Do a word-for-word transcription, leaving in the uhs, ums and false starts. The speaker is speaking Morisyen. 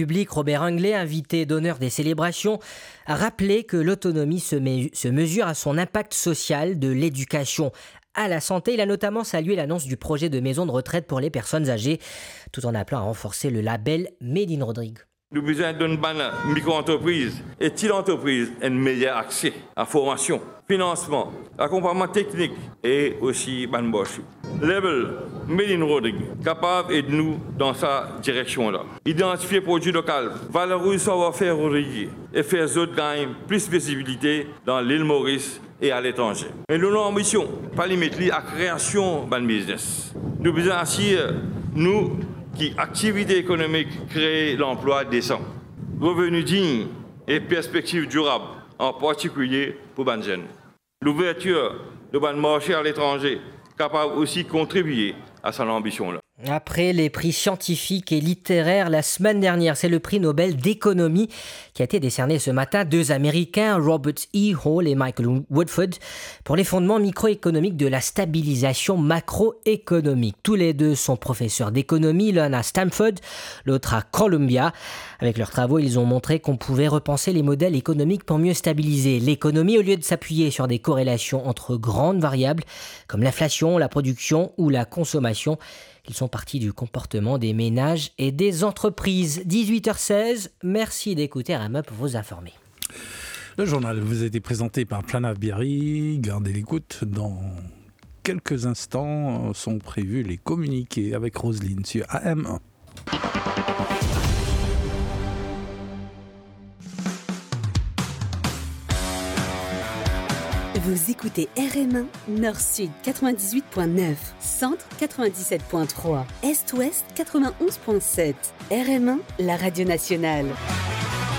Public, Robert Anglais, invité d'honneur des célébrations, a rappelé que l'autonomie se me-, se mesure à son impact social, de l'éducation à la santé. Il a notamment salué l'annonce du projet de maison de retraite pour les personnes âgées, tout en appelant à renforcer le label Made in Rodrigues. Nou bizin donn bann mikro-antrepriz e ti lantrepriz enn meyer akse a formasion, finansman, akonpagnman teknik e osi bann bourse. Label Made in Rodrigues kapav ed nou dan sa direksion la. Idantifie prodwi lokal, valoriz savwar-fer rodrigien e fer zot gagn plis vizibilite dan lil Moris e aletranze. Me nou lanbision pa limit li a kreasion bann biznes. Nou bizin asir nou ki aktivite ekonomik kree lanplwa desan, reveni dign e perspektiv dirab, an partikilie pou bann zenn. Louvertir de bann marse aletranze kapav osi kontribie a sa lanbision la. Après les prix scientifiques et littéraires la semaine dernière, c'est le prix Nobel d'économie qui a été décerné ce matin. Deux Américains, Robert E. Hall et Michael Woodford, pour l'effondrement microéconomique de la stabilisation macroéconomique. Tous les deux sont professeurs d'économie, l'un à Stanford, l'autre à Columbia. Avec leurs travaux, ils ont montré qu'on pouvait repenser les modèles économiques pour mieux stabiliser l'économie au lieu de s'appuyer sur des corrélations entre grandes variables comme l'inflation, la production ou la consommation. Ils sont partis du comportement des ménages et des entreprises. Dix-huit heures seize, merci d'écouter R M E pour vous informer. Le journal vous a été présenté par Planav Biary. Gardez l'écoute. Dans quelques instants sont prévus les communiqués avec Roselyne sur A M un. Vous écoutez R M un, Nord-Sud quatre-vingt-dix-huit point neuf, Centre quatre-vingt-dix-sept point trois, Est-Ouest quatre-vingt-onze point sept. R M un, la radio nationale.